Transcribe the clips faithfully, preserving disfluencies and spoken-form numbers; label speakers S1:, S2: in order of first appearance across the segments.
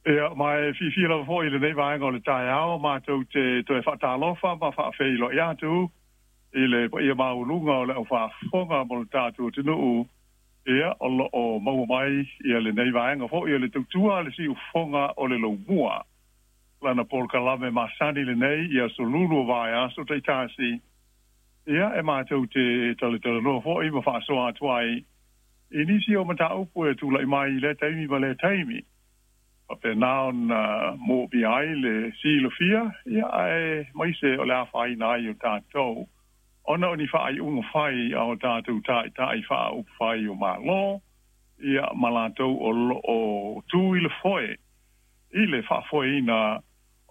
S1: Ia, ma e fiafia lava foi i lenei vaega o le taeao matou te toe faatalofa ma faafeiloai atu i le paia maualuga o le aufaafofoga mo le tatou atunuu, ia o lo o maua mai ia lenei vaega foi o le tautua a le siufofoga o le laumua. Lana polokalame masani lenei i aso lulu o vaiaso taitasi, ia e matou te talatalanoa foi ma faasoa atu ai i nisi o mataupu e tulai mai i lea taimi ma lea taimi. Faapena ona moomia ai le silafia, ia aemaise o le afaina ai o tatou ona o ni faaiuga fai a o tatou taitai faaupufai o Malo, ia ma latou o lo o tu i le foe i le faafoeina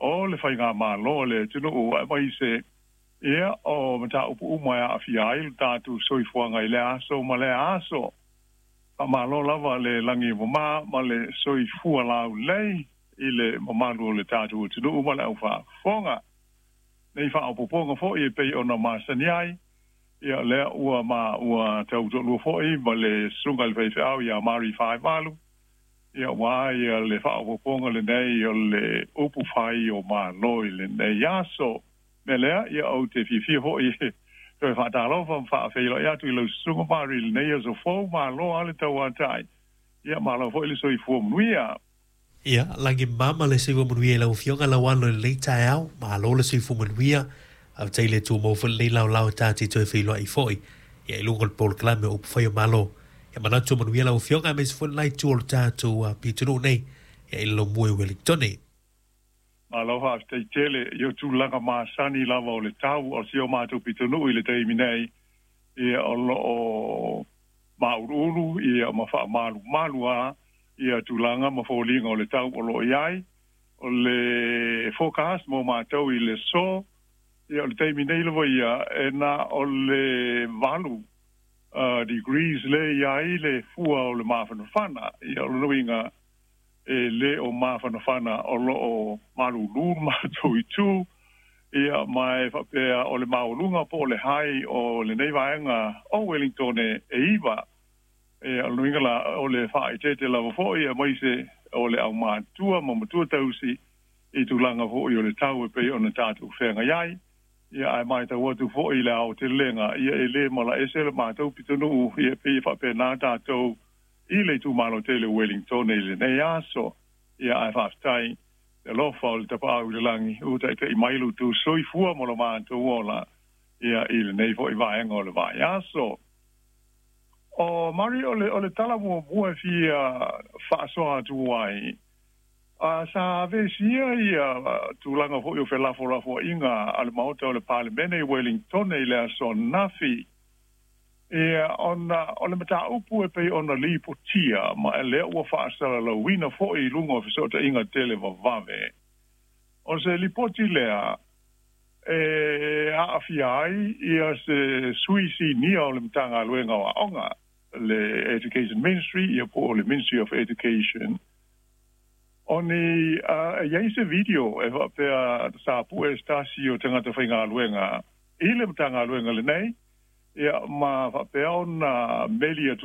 S1: o le faigamalo a le atunuu, aemaise ia o mataupu uma e aafia ai lo tatou soifuaga i lea aso ma lea aso. Faamalo lava le lagi e mama ma le soifua laulelei i le mamalu o le tatou atunuu ma le aufaafofoga. Nei faaopoopoga foi e pei ona masani ai, ia lea ua ma ua tau toalua foi ma le susuga i le faifeau ia Mari Faivalu, ia ua ia le faaopoopoga lenei o le upu fai o Malo i lenei aso. Mea lea, ia ou te fiafia foi toe faatalofa ma faafeiloai atu i lau susuga Mari i lenei aso fou. Malo lava le tauatai, ia malo foi le soifua manuia.
S2: Ia, lagi mama le soifua manuia i lau Afioga Lauano i lenei taeao. Malo le soifua manuia. Faafetai i le Atua maua foi lenei laolao e tatou te toe feiloai foi ia i luga o le polokalame o upu fai o Malo. Ia manatu manuia lau Afioga aemaise foi le la itu o le tatou pitonuu nei ia i le laumua i Ueligitone.
S1: Malo faafetai tele i o tulaga masani lava o le tau o si o matou pitonuu i le taimi nei, ia o lo o mauluulu ia ma faamalumalu a ia tulaga ma foliga o le tau o lo o i ai. O le forecast mo matou i le aso, ia o le taimi nei lava ia e na o le valu uh, degrees le i ai le fua o le mafanafana. Ia o le uiga e le o mafanafana, o lo o malulu matou itu, ia ma e faapea o le maualuga po o le high o lenei vaega o Wellington e iva. E o le uiga la o le faaeteete lava foi aemaise o le aumatua ma matua tausi i tulaga foi o le tau e pei ona tatou feagai ai. Ia ae matau atu foi i le aotelega, ia e le malaese le matou pitonuu, ia pei e faapena tatou i le itumalo tele o Wellington i lenei aso. Ia ae faafetai le alofa o le Tapaau i le lagi ua taitai mai lo outou soifua ma lo matou ola ia i lenei foi vaega o le vaiaso. O Mari, o le, o le tala muamua e fia faasoa atu ai, a sa avesia ia tulaga foi o felafolafoaiga a le Maota o le Palemene i Wellington i le aso ananafi, ia ona o le mataupu e pei ona lipotia ma e lea ua faasalalauina foi i luga o fesootaiga televavave. O se lipoti lea e aafia ai ia se sui sinia o le Matagaluega o Aoga, le Education Ministry, ia po o le Ministry of Education. O ni uh, e iai se video e faapea sa pue se tasi o tagata faigaluega i le Matagaluega lenei, ia ma faapea ona meli atu